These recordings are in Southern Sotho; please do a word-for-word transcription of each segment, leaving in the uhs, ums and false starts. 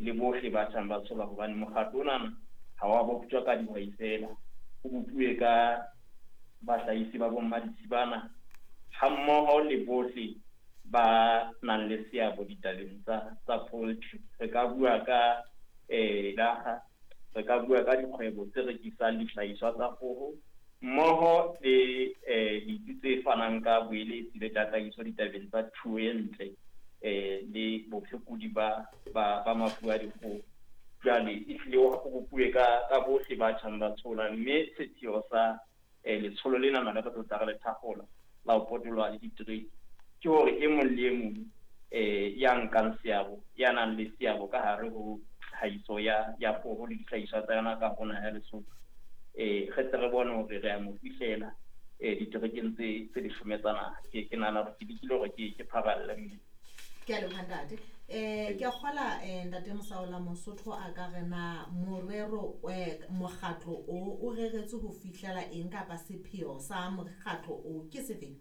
le bohle ba tjhang ba tshola, hobane mokgatlo ona ha wa boptjwa ka dihwai fela, o bopuwe ka bahlahisi ba bommaditshibana hammoho le bohle ba nang le seabo ditabeng tsa tsa poultry. Re ka bua ka eh laga, re ka bua ka dikgwebo tse rekisang dihlahiswa tsa kgoho mmoho le eh ditsi tse fanang ka boeletsi le tataiso ditabeng tsa thuo e ntle eh le bophekodi ba ba ba mafu a dikgoho. Jwale ehlile o bopuwe ka ka bohle ba tjhang ba tshola, mme sepheo sa eh letsholo lena na le re tlo tla re le thakgola la ho potoloha le ditereke ke hore e mong le e mong eh ya nkang seabo, ya nang le seabo ka hare ho tlhahiso ya ya kgoho le dihlahiswa tsa yona ka hare ho naha ya Lesotho, eh re tle re bone hore re a mo fihlela eh diterekeng tse tse leshome tsa naha. Ke ke nahana hore ke lekile hore ke ke phaballe mme. Ke a leboha ntate. Eh ke a kgola eh ntate Mosaola, Mosotho a ka re na morero eh mokgatlo o o reretswe ho fihlela eng kapa sepheo sa mokgatlo o ke sefeng?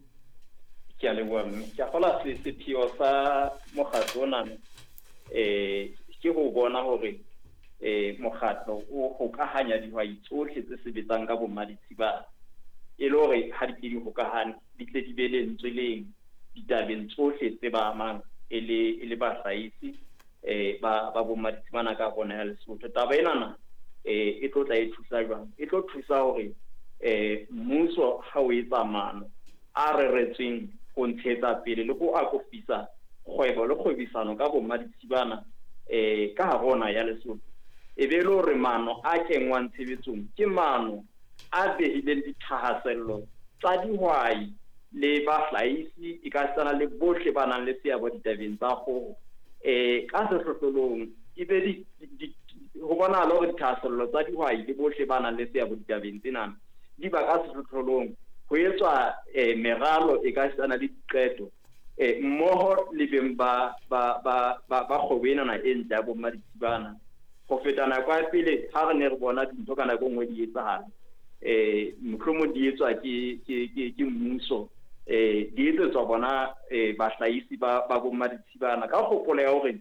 Ke a leboha mme. Ke a kgola sepheo sa mokgatlo ona eh ke ho bona hore eh mokgatlo o hokahanya dihwai tsohle tse sebetsang ka bommaditshibana, e le hore ha di ke di hokahane di tle di be lentswe leng ditabeng tsohle tse ba amang e le e le bahlahisi eh ba ba bommaditshibana ka hare ho naha ya Lesotho. Taba enana eh e tlo tla e thusa jwang? E tlo thusa hore eh mmuso ha o etsa maano a reretsweng ho ntshetsa pele le ho akofisa kgwebo le kgwebisano ka bommaditshibana eh ka hare ho naha ya Lesotho, e be le hore maano a kenngwang tshebetsong ke maano a behileng dithahasello tsa dihwai le bahlahisi e ka setsana le bohle ba nang le seabo ditabeng tsa kgoho eh ka sehlohlolong. E be di, di, ho bonahala hore dithahasello tsa dihwai le bohle ba nang le seabo ditabeng tsena di ba ka sehlohlolong, ho etswa eh meralo e ka setsana le diqeto eh mmoho le beng ba ba ba ba ba kgwebo enana e ntle ya bommaditshibana. Ho feta nako ya pele ha re ne re bona dintho ka nako e nngwe di etsahala, eh mohlomong di etswa ke ke ke ke mmuso, eh di etsetswa bona eh bahlahisi ba ba bommaditshibana ka kgopolo ya hore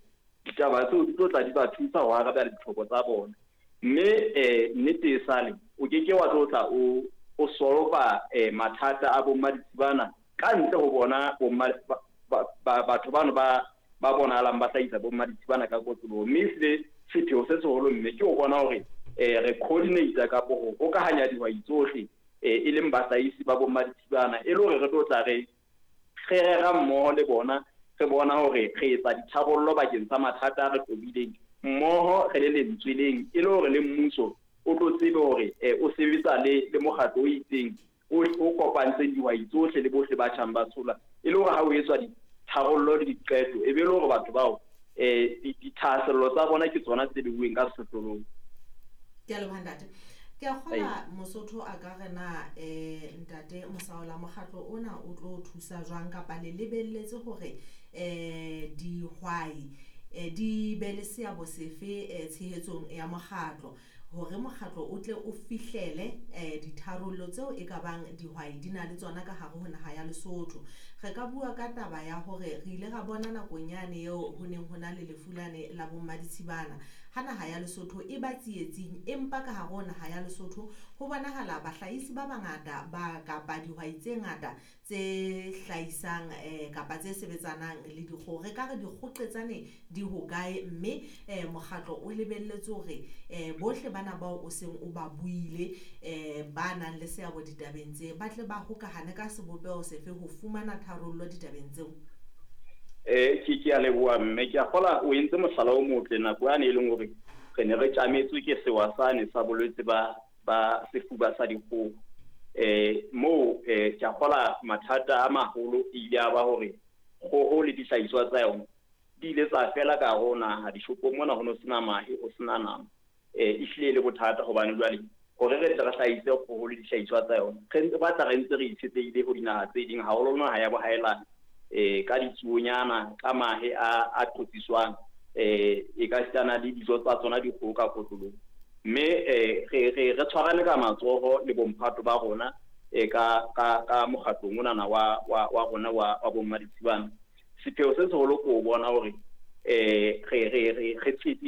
ditaba tseo di tlo tla di ba thusa ho arabela ditlhoko tsa bona. Mme eh nnete e sale o ke ke wa tlo tla o o solva eh mathata a bommaditshibana ka ntle ho bona bomma ba batho bano ba ba bonahalang ba hlahisa bommaditshibana ka kotloloho. Mme ehlile sepheo se seholo mme ke ho bona hore eh re coordinate kapo ho hokahanya dihwai tsohle eh e leng bahlahisi ba bommaditshibana, e le hore re tlo tla re re rera mmoho le bona, re bona hore re etsa ditharollo bakeng sa mathata a re tobileng mmoho re le lentswe leng, e le hore le mmuso o tlo tsebe hore eh o sebetsa le le mokgatlo o itseng o o kopantseng dihwai tsohle le bohle ba tjhang ba tshola, e le hore ha o etswa ditharollo le diqeto e be le hore batho bao eh dithahasello tsa bona ke tsona tse beuweng ka sehlohlolong. Ke a leboha ntate. Ke a kgola Mosotho a ka re na eh ntate Mosaola, mokgatlo ona o tlo thusa jwang kapa le lebelletse hore eh dihwai eh di be le seabo sefe eh tshehetsong ya mokgatlo, hore mokgatlo o tle o fihlele eh ditharollo tseo e ka bang dihwai di na le tsona ka hare ho naha ya Lesotho? Re ka bua ka taba ya hore re ile ra bona nakong yane eo ho neng ho na le lefu lane la bommaditshibana ha naha ya Lesotho e ba tsietsing, empa ka hare ho naha ya Lesotho ho bonahala bahlahisi ba bangata ba kapa dihwai tse ngata tse hlahisang eh kapa tse sebetsanang le dikgoho. Re ka re dikgoqetsane di hokae, mme eh mokgatlo o lebelletse hore eh bohle bana bao o seng o ba buile eh ba nang le seabo ditabeng tse ba tle ba hokahane ka sebopeho sefe ho fumana tharollo ditabeng tseo? Eh ke ke a leboha mme. Ke a kgola o entse mohlala o motle nako yane e leng hore re ne re tjametswe ke sewa sane sa bolwetse ba ba sefuba sa dikgoho. Eh moo eh ke a kgola mathata a maholo e ile a ba hore kgoho le dihlahiswa tsa yona di ile tsa fela ka hare ho naha. Dishopong mona ho no sena mahe, ho sena nama. Eh ehlile e le bothata hobane jwale hore re tle re hlahise kgoho le dihlahiswa tsa yona re ntse batla re ntse re itshetlehile ho dinaha tse ding, haholo naha ya bohaelane eh ka ditsuonyana, ka mahe a a qotsiswang eh e ka sitana le dijo tsa tsona dikgoho ka kotloloho. Mme eh re re re tshwarane ka matsoho le bomphato ba rona eh ka ka ka mokgatlong onana wa wa wa rona wa wa bommaditshibana. Sepheo se seholo ke ho bona hore eh re re re re tsitsisa